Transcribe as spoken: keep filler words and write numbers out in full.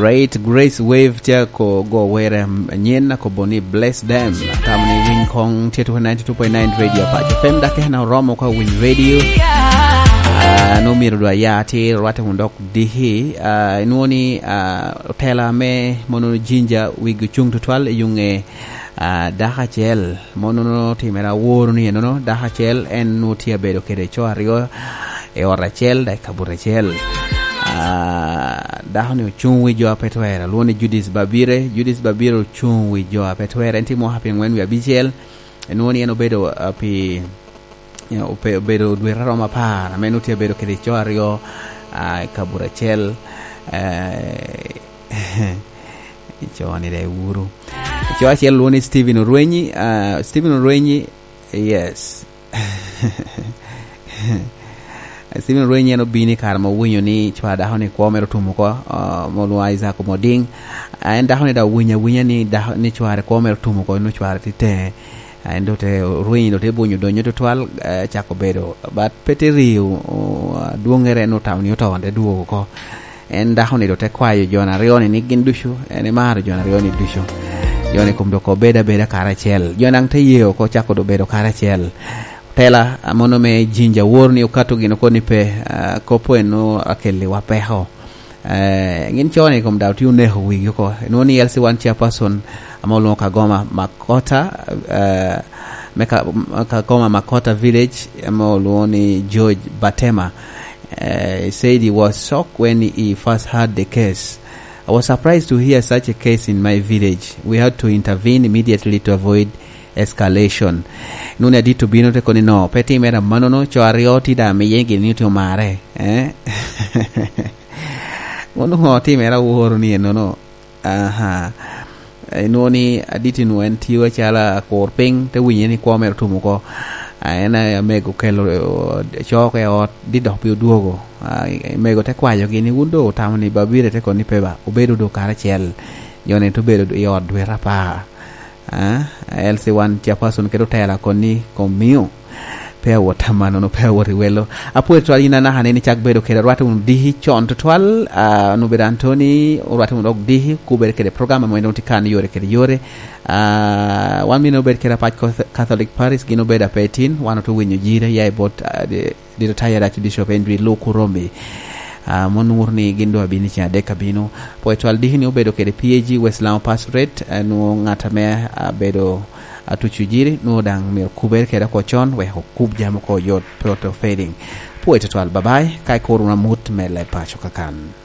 Great Grace Wave tye ko go were anyen, akobo ni bless them. Atamo ni winy kong tye tuko ninety-two point nine Radio Apac F M, dok en oromo ka winy radio. Ah, no myero dwa ya ti rwate wun dok diki. Ah, inwoŋo ni, ah, otela me mono jinja wigi ocuŋ tutwal i yuŋe, ah, dako acel. Mono timere aworo ni enono, dako acel en nwoŋo tye abedo kede co aryo i ot acel, dok i kabuto acel. Ah, dako ni ocuŋ wi jo a pe twere, lwongo ni Judith Babire. Judith Babire ocuŋ wi jo a pe twere, en tye mwaka pyerangwen wie abicel. Enwoŋo ni en obedo, ah, pi, you know, ope-, obedo dwete aromo apar, ame nwoŋo tye abedo kede co aryo, ah, i kabuto acel. Eh, co ni de wuru. Co acel lwongo ni Stephen Orwenyi, ah, Stephen Orwenyi, yes. Stephen Orwenyi en obino i kare ma owinyo ni cwar dako ni kwo mere otum oko, ah, ma olwongo Isaac Omoding. Ah, en dako ni dok owinyo awinya ni dako, ni cware kwo mere otum oko, nwoŋo cware tye teŋe. Ah, en dok te, Orwenyi dok te bunyo donyo tutwal, eh, cako bedo, but pe te rio, o, adwoŋŋere en otamo ni oto, te dwogo oko. En dako ni dok te kwayo jo aryo ni, ni gin ducu, en emaro jo aryo ni ducu. Jo ni kom dok obedo abeda karacel. Jo daŋ te ye oko, cako dok bedo karacel. Tela, ah, mono me jinja wor ni okato gin oko ni pe, ah, kop eno akelliwa peko. Eh, gin co ni kom daŋ tye oneko wigi oko. Enwoŋo ni L C one chairperson ame olwoŋo Kagoma Makota, eh, me Ka-, Kagoma Makota Village, ame olwoŋo ni George Batema. Eh, he said he was shocked when he first heard the case. "I was surprised to hear such a case in my village. We had to intervene immediately to avoid escalation." Nuni adit obino te koni no, pe timere amannono, co aryo ti daŋ miye gin ni tye omare, eh? Mono ŋo timere aworo ni enono? Aha. Enwoŋo ni adit nwoŋo en tio acalo akur piny, te winye ni kwo mere otum oko. Ah, en amego okelo, eh, coko i ot, dit dok pe odwogo. Ah, mego te kwayogi ni, "Wun doŋ otamo ni Babire te koni pe ba, obedo doŋ karacel." Jo ni te obedo i ot dwete apar. Ah, L C one chairperson kede otela koni kom mio. Pe awot amannono, pe awot i welo. Apwoyo tutwal yin anaka ni, ni cak bedo kede, orwatte wunu diki con tutwal, ah, onwoŋo obedo Anthony, orwatte wunu dok diki, kubere kede program ame doŋ tye kan yore kede yore. Ah, wan mine obed kede Apac Cath-, Catholic Parish, gin obedo ape tin, wan otye winyo jire, ya i bot, ah, di-, Dito Taya Archbishop Henry Luku Romi. Ah, mon wuro ni gin doŋ abino i ceng adek abino. Pwod twal diki ni obedo kede P A G West Lango Pastorate, eh, nwoŋo ŋat ame abedo atuco jiri, nwoŋo daŋ myero kubere kede oko con, wek okub jami oko oyot, pe oto fading. Pwod twal, bye bye, ka ikuro wunu amut me leb paco kakan.